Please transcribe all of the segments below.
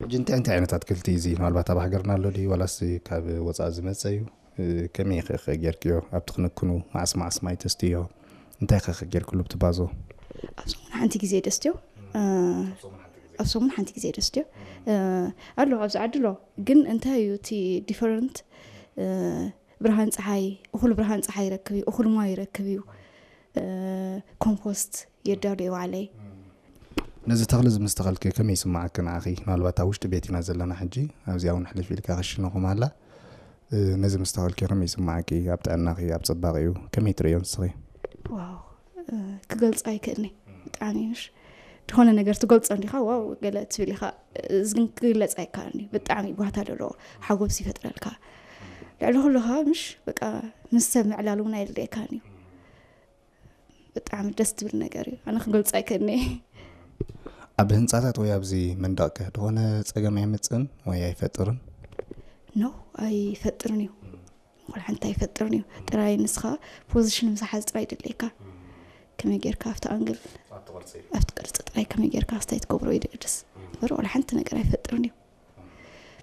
ሕጂ እንታይ እንታይ ዓይነት ኣትክልቲ እዩ እዚ? ምናልባት ኣብ ሃገርና ኣሎ ድዩ ዋላስ ካብ ወፃኢ ዝመፀ እዩ? ከመይ ከ ጌርክዮ ኣብቲ ክንክኑ? መዓስ መዓስ ማይ ተስትዮ? እንታይ ከ ጌርክሉ ኣብቲ ባዞ? ኣብ ሰሙን ሓንቲ ግዜ ደስትዮ። ኣብ ሰሙን ሓንቲ ግዜ ደስትዮ ኣሎ ኣብዚ ዓዲ ኣሎ። ግን እንታይ እዩ እቲ ዲፈረንት? ብርሃን ፀሓይ፣ እኹል ብርሃን ፀሓይ ይረክብ እዩ፣ እኹል ማይ ይረክብ እዩ። ኮምፖስት የዳሉ እየ ባዕለይ። ነዚ ተኽሊ እዚ ምስ ተኸልኪ ከመይ ይስምዓኪ ንዓኺ? ምናልባት ኣብ ውሽጢ ቤት ኢና ዘለና ሕጂ፣ ኣብዚኣ እውን ሕልፍ ኢልካ ክሽነኹም ኣላ። ነዚ ምስ ተኸልኪ ከመይ ይስምዓኪ? ኣብ ጥዕናኺ፣ ኣብ ፅባቐኡ ከመይ ትርእዮ ንስኺ? ዋው፣ ክገልፆ ኣይክእልኒ። ብጣዕሚ ምሽ ዝኾነ ነገር ትገልፆ እንዲኻ ዋው ገለ ትብል ኢኻ። እዚ ግን ክግለፅ ኣይከኣልኒ። ብጣዕሚ ጓታ ዘለዎ ሓጎስ ይፈጥረልካ። ልዕሊ ኩሉ ከዓ ምሽ በቃ ምስ ሰብ ምዕላል እውን ኣየድልየካን እዩ። ብጣዕሚ ደስ ትብል ነገር እዩ። ኣነ ክገልፆ ኣይክእልኒ። ኣብ ህንፃታት ወይ ኣብዚ መንደቕከ ዝኾነ ፀገም ኣየምፅእን ወይ ኣይፈጥርን? ኖ፣ ኣይፈጥርን እዩ። ወላ ሓንቲ ኣይፈጥርን እዩ። ጥራይ ንስኻ ፖዚሽን ምዝሓዝ ጥራይ ድልየካ። ከመይ ጌርካ ኣብቲ ኣንግል ኣብቲ ቅርፂ ጥራይ ከመይ ጌርካ ክስታይ ትገብሮ እዩ ድቅድስ እምበር ወላ ሓንቲ ነገር ኣይፈጥርን እዩ።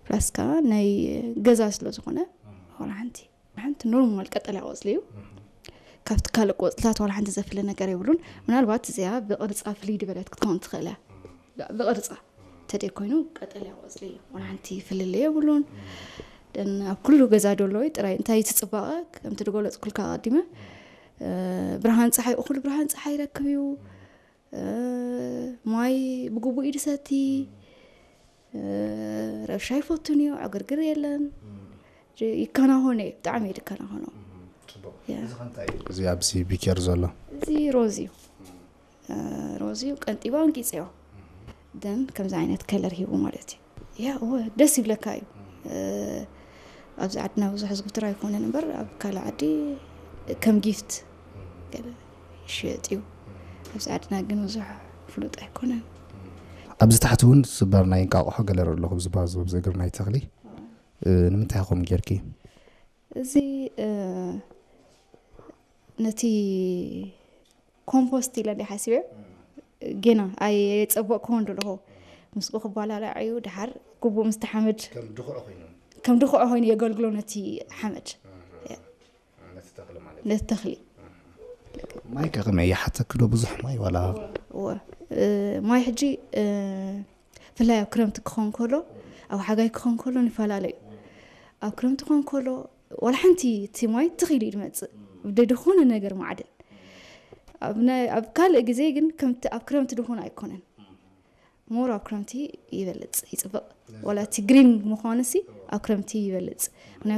ፕላስ ከዓ ናይ ገዛ ስለ ዝኾነ ወላ ሓንቲ ሓንቲ ኖርማል ቀጠልያ ቆፅሊ እዩ። ካብቲ ካልእ ቆፅልታት ዋላ ሓንቲ ዘፍለ ነገር የብሉን። ምናልባት እዚኣ ብቅርፃ ፍልይ ድበለት ክትከውን ትኽእል እያ። ብቅርፃ ተደይ ኮይኑ ቀጠልያ ቆፅሊ እዩ። ዋላ ሓንቲ ፍልልይ የብሉን። ደን ኣብ ኩሉ ገዛ ደሎ እዩ። ጥራይ እንታይ እቲ ፅባቐ ከምቲ ዝገለፅኩልካ ኣቐዲመ ብርሃን ፀሓይ እኹል ብርሃን ፀሓይ ይረክብ እዩ። ማይ ብግቡእ ይድሰቲ። ረብሻ ይፈቱን እዩ። ዕግርግር የለን። ይከናሆነ እዩ። ብጣዕሚ እዩ ዝከናሆኖ። እዚ ኣብዚ ቢኬር ዘሎ እዚ ሮዝ እዩ። ሮዝ እዩ ቀንጢባ እንቂፅዮ። ደን ከምዚ ዓይነት ከለር ሂቡ ማለት እዩ። ያ እወ ደስ ይብለካ እዩ። ኣብዚ ዓድና ብዙሕ ዝግትር ኣይኮነን እምበር ኣብ ካልእ ዓዲ ከም ጊፍት ገለ ይሽየጥ እዩ። ኣብዚ ዓድና ግን ብዙሕ ፍሉጥ ኣይኮነን። ኣብዚ ታሕቲ እውን ስበር ናይ እንቃቑሖ ገለ ኣለኹ ኣብዚ ባዞ ኣብዚ እግር ናይ ተኽሊ ንምንታይ ከምኡ ጌርኪ? እዚ ነቲ ኮምፖስት ኢለ እንዲ ሓሲበ ጌና ኣይፀበቅክዎን ደለኹ። ምስኡ ክባላላዕ እዩ ድሓር ግቡእ ምስቲ ሓመድ ከም ድኹዕ ኮይኑ የገልግሎ ነቲ ሓመድ ነቲ ተኽሊ። ማይ ከ ከመይ ይሓተኪ ዶ ብዙሕ ማይ ዋላ? እወ ማይ ሕጂ ብፍላይ ኣብ ክረምቲ ክኸውን ከሎ ኣብ ሓጋይ ክኸውን ከሎ ንፈላለ እዩ። ኣብ ክረምቲ ክኸውን ከሎ ዋላ ሓንቲ እቲ ማይ ትኽ ኢሉ እዩ ዝመፅእ ብደይ ዝኾነ ነገር ማዕድን። ኣብ ካልእ ግዜ ግን ከምቲ ኣብ ክረምቲ ድኹን ኣይኮነን። ሞር ኣብ ክረምቲ ይበልፅ ይፅብቕ። ዋላ እቲ ግሪን ምዃኑ ሲ ኣብ ክረምቲ ይበልፅ።